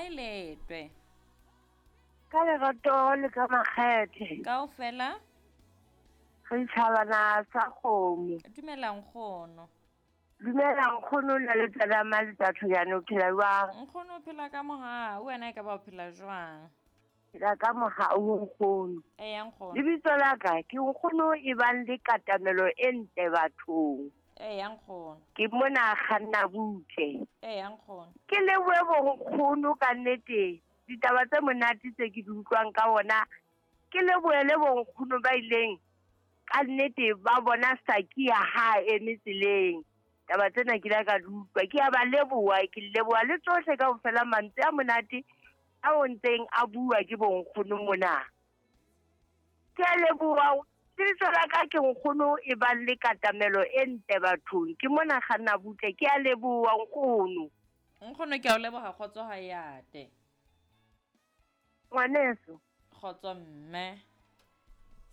Kae letwe? Ka lerato le ka makgethe. Kaofela? Re tjhabana sa kgomo. Dumela nkgono. Dumela nkgono na le tsena maletsa Tlhojane o phela jwang? Nkgono o phela ka mohau, wena e ka ba o phela jwang? Phela ka mohau nkgono. Eya nkgono. Lebitso la ka ke nkgono e bang le katamelo e ntle bathong. Eya nkgono. Ke mona kganna butle. Eya nkgono. Ke lebohe bonkgono ka nnete ditaba tse monate tse ke di utlwang ka ona. Ke lebohe le bonkgono ba ileng ka nnete ba bona Sakia ha a eme tseleng. Taba tsena ke la ka di utlwa. Ke a ba leboha, ke leboha le tsohle kaofela mantswe a monate a o ntseng a bua ke bonkgono mona. Ke a leboha. Lebitso la ka ke nkgono e bang le katamelo e ntle bathong. Ke mona kganna butle. Ke a leboha nkgono. Nkgono ke a o leboha kgotso ha e ate. Ngwaneso. Kgotso mme.